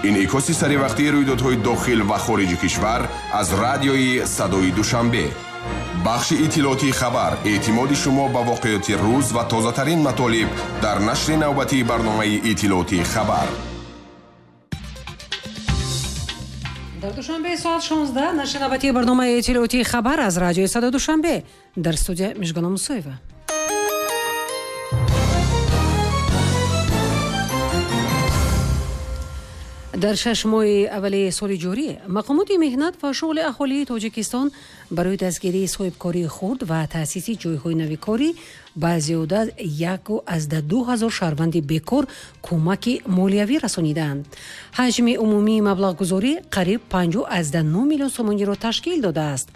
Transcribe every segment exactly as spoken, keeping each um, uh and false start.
Инъикоси саривақтии рӯйдодҳои дохил ва хориҷи кишвар аз радиои Садои Душанбе. Бахши иттилоотии хабар, эътимоди шумо ба воқеоти рӯз ва тозатарин матолиб дар нашри навбатии барномаи иттилоотии хабар. Дар Душанбе соат шонздаҳ нашри навбатии барномаи иттилоотии хабар аз радиои Садои Душанбе. Дар студия Мижгона Мусоева. Дар шаш моҳи аввали соли ҷорӣ мақомоти меҳнат ва шуғли аҳолии Тоҷикистон барои дастгирии соҳибкории хурд ва таъсиси ҷойҳои нави корӣ ба зиёда яку аз ду ҳазор шаҳрванди бекор кӯмаки молиявӣ расонидаанд. Ҳаҷми умумии маблағгузорӣ қариб панҷу аз нӯ миллион сомониро ташкил додааст.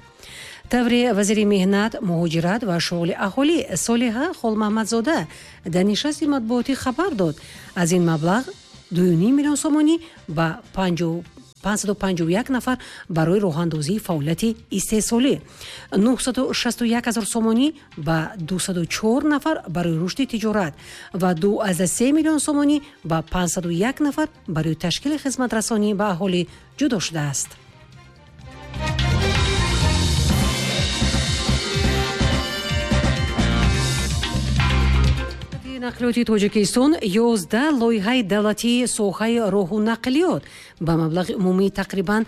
Таври вазири меҳнат, муҳоҷират ва шуғли аҳолӣ Солиҳа Холмаҳмадзода дар нишасти матбуотӣ хабар дод. Аз ин маблағ ду ним миллион сомонӣ ба панҷсаду панҷоҳу як нафар барои роҳандозии фаъолияти истеҳсолӣ, нӯҳсаду шасту як ҳазор сомонӣ ба дусаду чор нафар барои рушди тиҷорат ва ду аз се миллион сомонӣ ба панҷсаду як нафар барои ташкили хизматрасонӣ ба аҳолӣ ҷудо шудааст. Нақлиёти Тоҷикистон ёздаҳ лоиҳаи давлатии соҳаи роҳу нақлиёт ба маблағи умумии тақрибан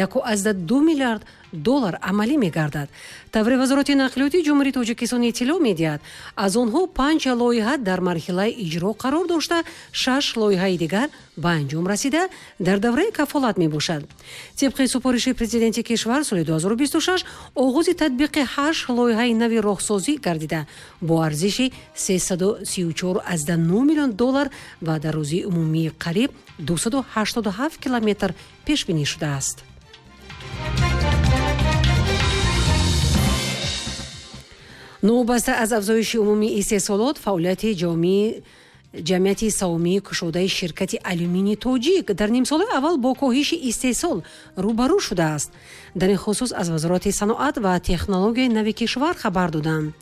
яку аз ду миллиард доллар амалӣ мегардад. Таври Вазорати нақлиёти Ҷумҳурии Тоҷикистон иттилоъ медиҳад, аз онҳо панҷ лоиҳа дар марҳилаи иҷро қарор дошта, шаш лоиҳаи дигар ба анҷом расида дар давраи кафолат мебошад. Тибқи супориши президенти кишвар соли ду ҳазору бисту шаш оғози татбиқи ҳашт лоиҳаи нави роҳсозӣ гардида бо арзиши сесаду сию чор аз нӯ миллион доллар ва дарозии умумии қариб дусаду ҳаштоду ҳафт километр пешбинӣ шудааст. Новобаста аз афзоиши умумии истеҳсолот, фаъолияти ҷамъияти савомии кушодаи ширкати алюминии тоҷик дар нимсолаи аввал бо коҳиши истеҳсол рӯбарӯ шудааст. Дар ин хусус аз Вазорати саноат ва технологияи нави кишвар хабар доданд.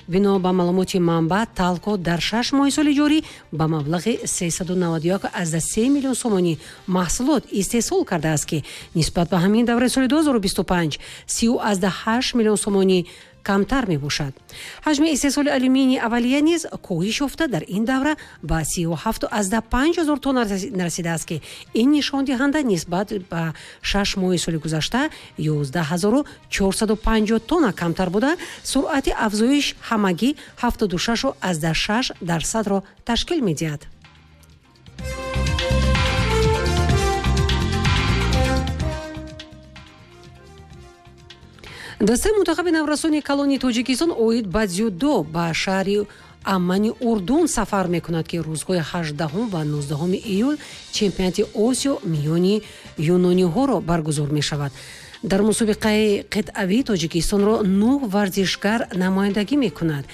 Бино ба маълумоти манбаъ, Талко дар шаш моҳи соли ҷорӣ ба маблағи сесаду наваду як аз се миллион сомонӣ маҳсулот истеҳсол кардааст, ки нисбат ба ҳамин давраи соли ду ҳазору бисту панҷ сию аз ҳашт миллион сомонӣ камтар мебошад. Ҳаҷми истеҳсоли алюминии аввалия низ коҳиш ёфта дар ин давра ба сию ҳафту аз панҷ ҳазор тонна расидааст, ки ин нишондиҳанда нисбат ба шаш моҳи соли гузашта ёздаҳ ҳазору чорсаду панҷоҳ тонна камтар буда, суръати афзоиш ҳамагӣ ҳафтоду шашу аз шаш дарсадро ташкил медиҳад. Дастаи мунтахаби наврасони калони Тоҷикистон оид ба дзюдо ба шаҳри Аммани Урдун сафар мекунад, ки рӯзҳои ҳаждаҳум ва нуздаҳуми июл чемпионати Осиё миёни юнониҳоро баргузор мешавад. Дар мусобиқаи қитъавӣ Тоҷикистонро нӯҳ варзишгар намояндагӣ мекунад.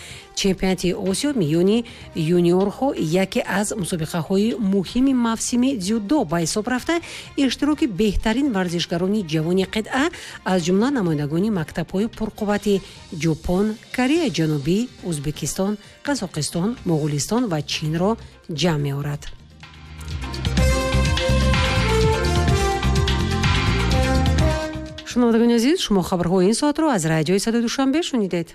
Чемпионати Осиё миёни юниорҳо яке аз мусобиқаҳои муҳими мавсими дзюдо ба ҳисоб рафта, иштироки беҳтарин варзишгарони ҷавони қитъа аз ҷумла намояндагони мактабҳои пурқуввати Ҷопон, Кореяи Ҷанубӣ, Ӯзбекистон, Қазоқистон, Моғулистон ва Чинро ҷамъ меорад. Шунавандагони азиз, шумо хабарҳои ин соатро аз радиои Садои Душанбе шунидед.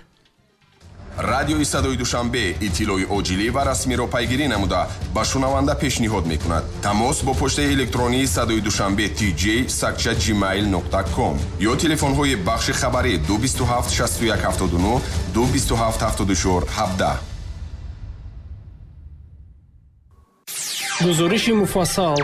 Радиои Садои Душанбе иттилои оҷилӣ ва расмиро пайгирӣ намуда ба шунаванда пешниҳод мекунад. Тамос бо почтаи электронии Садои Душанбе tj сакча gmail нуқта ком ё телефонҳои бахши хабарӣ ду бисту ҳафт шасту як ҳафтоду нӯҳ, ду бисту ҳафт ҳафтоду чор ҳабдаҳ. Гузориши муфассал.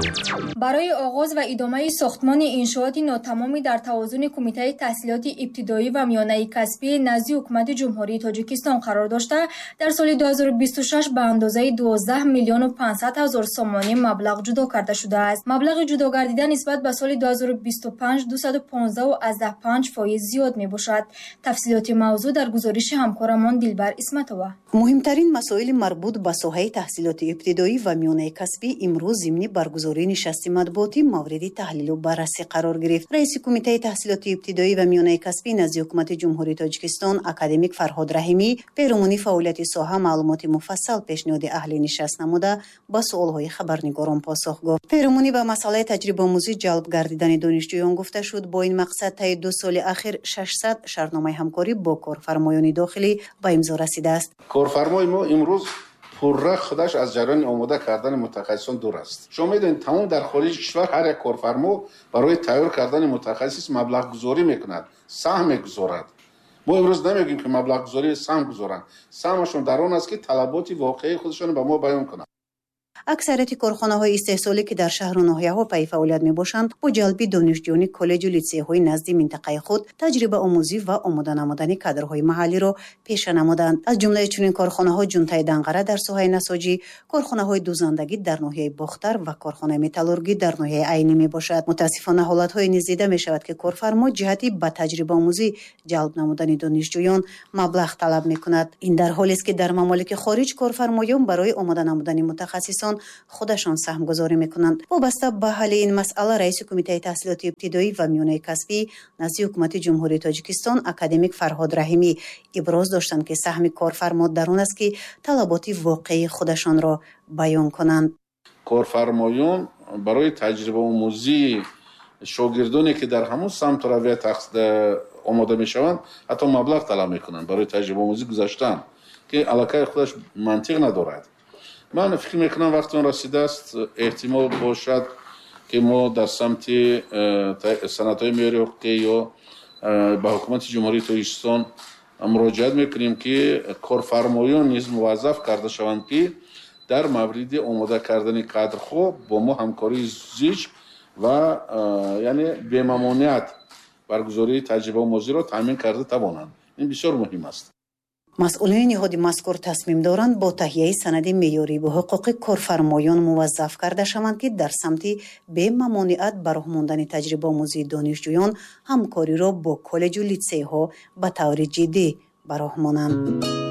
Барои оғоз ва идомаи сохтмони иншооти нотамоми дар тавозуни Кумитаи таҳсилоти ибтидоӣ ва миёнаи касбӣ назди Ҳукумати Ҷумҳурии Тоҷикистон қарор дошта, дар соли ду ҳазору бисту шаш ба андозаи дувоздаҳ миллиону панҷсад ҳазор сомонӣ маблағ ҷудо карда шудааст. Маблағи ҷудогардида нисбат ба соли ду ҳазору бисту панҷ дусаду понздаҳу аздаҳ панҷ фоиз зиёд мебошад. Тафсилоти мавзӯъ дар гузориши ҳамкорамон Дилбар Исматова. Муҳимтарин масоили марбут ба соҳаи таҳсилоти ибтидоӣ ва миёнаи касбӣ касбӣ имрӯз зимни баргузории нишасти матбуотӣ мавриди таҳлилу баррасӣ қарор гирифт. Раиси Кумитаи таҳсилоти ибтидоӣ ва миёнаи касбӣ назди Ҳукумати Ҷумҳурии Тоҷикистон академик Фарҳод Раҳимӣ перомуни фаъолияти соҳа маълумоти муфассал пешниҳоди аҳли нишаст намуда, ба суолҳои хабарнигорон посух гуфт. Перомунӣ ба масъалаи таҷрибаомӯзӣ ҷалб гардидани донишҷӯён гуфта шуд, бо ин мақсад таи ду соли ахир шашсад шартномаи ҳамкорӣ бо корфармоёни дохилӣ ба имзо расидааст. Корфармои мо имрӯз пурра худаш аз ҷараёни омода кардани мутахассисон дур аст. Шумо медонед, тамом дар хориҷи кишвар ҳар як корфармо барои тайёр кардани мутахассис маблағгузорӣ мекунад, саҳм мегузорад. Мо имрӯз намегӯем, ки маблағгузорӣ саҳм гузоранд. Саҳмашон дар он аст, ки талаботи воқеии худашонро ба мо баён кунанд. Аксарияти корхонаҳои истеҳсолӣ, ки дар шаҳру ноҳияҳо пайи фаъолият мебошанд, бо ҷалби донишҷӯёни коллеҷу литсейҳои назди минтақаи худ таҷрибаомӯзӣ ва омода намудани кадрҳои маҳаллиро пеша намуданд. Аз ҷумлаи чунин корхонаҳо Ҷунтаи Данғара дар соҳаи насоҷӣ, корхонаҳои дузандагӣ дар ноҳияи Бохтар ва корхонаи металлургӣ дар ноҳияи Айнӣ мебошад. Мутаассифона, ҳолатҳое низ дида мешавад, ки корфармо ҷиҳати ба таҷрибаомӯзӣ ҷалб намудани донишҷӯён маблағ талаб мекунад. Ин дар ҳолест, ки дар мамолики хориҷ корфармоён барои омода намудани мутахассисон худашон саҳмгузорӣ мекунанд. Вобаста ба ҳалли ин масъала раиси Кумитаи таҳсилоти ибтидоӣ ва миёнаи касбӣ назди Ҳукумати Ҷумҳурии Тоҷикистон академик Фарҳод Раҳимӣ иброз доштанд, ки саҳми корфармо дар он аст, ки талаботи воқеии худашонро баён кунанд. Корфармоён барои таҷрибаомӯзии шогирдоне, ки дар ҳамон самту равия омода мешаванд, ҳатто маблағ талаб мекунанд барои таҷрибаомӯзӣ гузаштан, ки аллакай худаш мантиқ надорад. Ман фикр мекунам, вақти он расидааст, эҳтимол бошад, ки мо дар самти санадҳои меъёри ҳуқуқӣ ё ба Ҳукумати Ҷумҳурии Тоҷикистон муроҷиат мекунем, ки корфармоён низ муваззаф карда шаванд, ки дар мавриди омода кардани кадрҳо бо мо ҳамкории зич ва яъне бемамониат баргузории таҷрибаомӯзиро таъмин карда тавонанд. Ин бисёр муҳим аст. Масъулини ниҳоди мазкур тасмим доранд, бо таҳияи санади меъёриву ҳуқуқи корфармоён муваззаф карда шаванд, ки дар самти бемамониат ба роҳ мондани таҷрибаомӯзии донишҷӯён ҳамкориро бо коллеҷу литсейҳо ба таври ҷиддӣ ба роҳ монанд.